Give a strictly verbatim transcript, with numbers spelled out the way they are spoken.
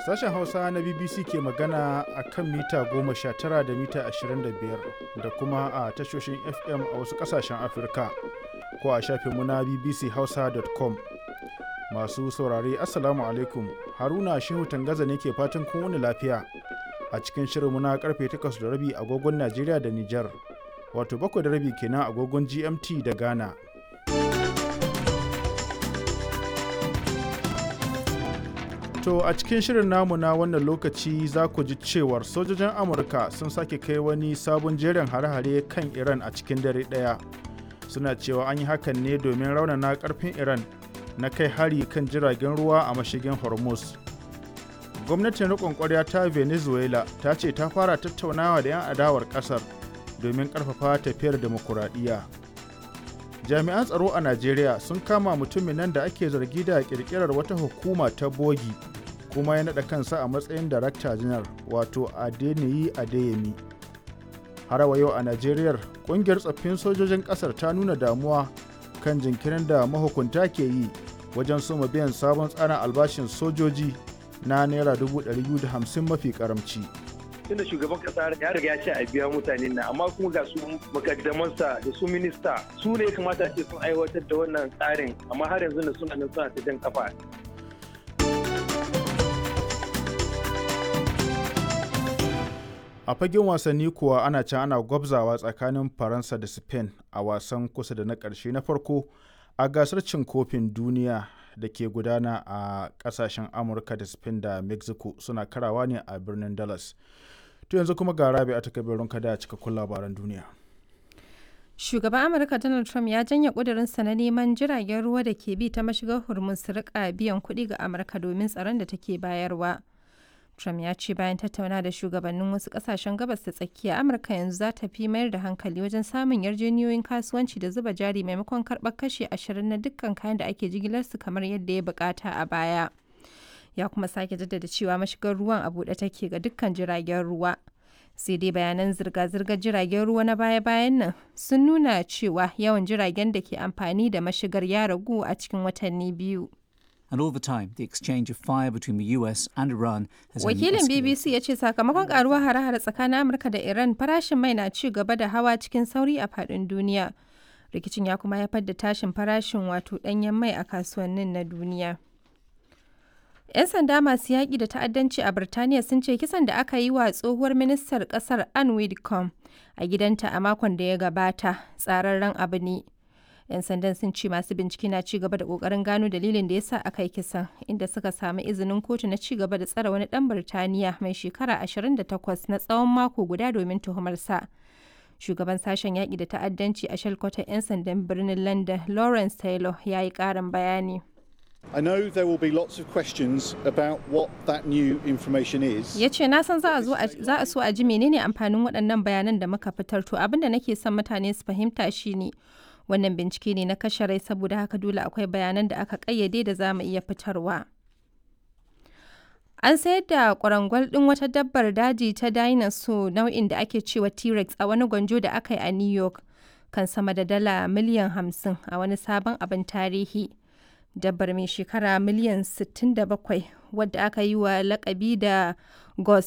Sashen Hausa na B B C ke magana a kan mita goma sha tara da mita ashirin da biyar da kuma a tashoshin F M a wasu ƙasashen Afirka ko a shafinmu na B B C Hausa dot com. Masu saurare, Assalamu alaikum. Haruna Shehu Tangaza ne ke fatan kun wuni lafiya a cikin shirinmu na karfe takwas da rabi agogon Najeriya da Nijar, wato bakwai da rabi kenan agogon G M T da Ghana. To a cikin shirin namu na wannan lokaci za ku ji cewar sojojin Amurka sun sake kai wani sabon jerin hare-hare kan Iran a cikin dare ɗaya. Suna cewa an yi hakan ne domin raunana ƙarfin Iran na kai hari kan jiragen ruwa a mashigin Hormuz. Gwamnatin riƙon ƙwarya ta Venezuela ta ce ta fara tattaunawa da 'yan adawar ƙasar domin ƙarfafa tafiyar demokuraɗiyya. Jami'an tsaro a Najeriya sun kama mutumin nan da ake zargi da ƙirƙirar wata hukuma ta bogi kuma ya naɗa kansa a matsayin darakta janar, wato Adeniyi Adeyemi. Har wa yau a Najeriya, ƙungiyar tsaffin sojojin ƙasar ta nuna damuwa kan jinkirin da mahukunta ke yi wajen soma biyan sabon tsarin albashin sojoji na naira dubu ɗari biyu da hamsin mafi karamci. Tunda shugaban kasa ya riga ya ce a biya mutane na, amma kuma ga su makaddamansa da su minista su ne ya kamata ce sun aiwatar da wannan tsarin, amma har yanzu na suna nan suna ta jan kafa. A fagen wasanni kuwa, ana can ana gwabzawa tsakanin Faransa da Spain a wasan kusa da na ƙarshe na farko a gasar cin kofin duniya da ke gudana a ƙasashen Amurka da Spain da Mexico, suna karawa ne a birnin Dallas. To yanzu kuma ga Rabi a takabirin kada cikakkun labaran duniya. Shugaban Amurka Donald Trump ya janye ƙudurinsa na neman jiragen ruwa da ke bi ta mashigar Hormuz su rika biyan kuɗi ga Amurka domin tsaron da take bayarwa. Trump ya ce bayan tattauna da shugabannin wasu kasashen Gabas ta Tsakiya, Amurka yanzu za ta fi mayar da hankali wajen samun yarjejeniyoyin kasuwanci da zuba jari maimakon karɓar kashi ashirin na dukkan kayan da ake jigilarsu kamar yadda ya bukata a baya. Ya kuma sake jaddada cewa mashigar ruwan a buɗe take ga dukkan jiragen ruwa. Sai dai bayanan zirga-zirgar jiragen ruwa na baya-bayan nan sun nuna cewa yawan jiragen da ke amfani da mashigar ya ragu a cikin watanni biyu. And all the time, the exchange of fire between the U S and Iran has only Wakilin escalated. B B C ya ce sakamakon karuwar hare-hare tsakanin Amurka da Iran, farashin mai na ci gaba da hawa cikin sauri a faɗin duniya. Rikicin ya kuma haifar da tashin farashin wato ɗanyen mai a kasuwannin na duniya. 'Yan sanda masu yaƙi da ta'addanci a Birtaniya sun ce kisan da aka yi wa tsohuwar ministar ƙasar Anne Widdecombe a gidanta a makon da ya gabata tsararren abu ne. 'Yan sandan sun ce masu bincike na ci gaba da kokarin gano dalilin da ya sa aka yi kisan, inda suka samu izinin kotu na ci gaba da tsare wani dan Birtaniya mai shekara ashirin da takwas na tsawon mako guda domin tuhumarsa. Shugaban sashen yaƙi da ta'addanci a shalkwatar 'yan sandan birnin London, Lawrence Taylor, ya yi ƙarin bayani. I know there will be lots of questions about what that new information is. Ya ce na san za a zo a- za a so a ji menene amfanin waɗannan bayanan da muka fitar. To abin da nake son mutane su fahimta shine wannan bincike ne na kashe rai, saboda haka dole akwai bayanan da aka ƙayyade da za mu iya fitarwa. An sayar da kwarangwal ɗin wata dabbar daji ta dinosaur nau'in da ake cewa T-Rex a wani gwanjo da aka yi a New York kan sama da dala miliyan hamsin a wani sabon abin tarihi. Dabbar mai shekara miliyan sittin da bakwai, wadda aka yi wa lakabi da Ghost.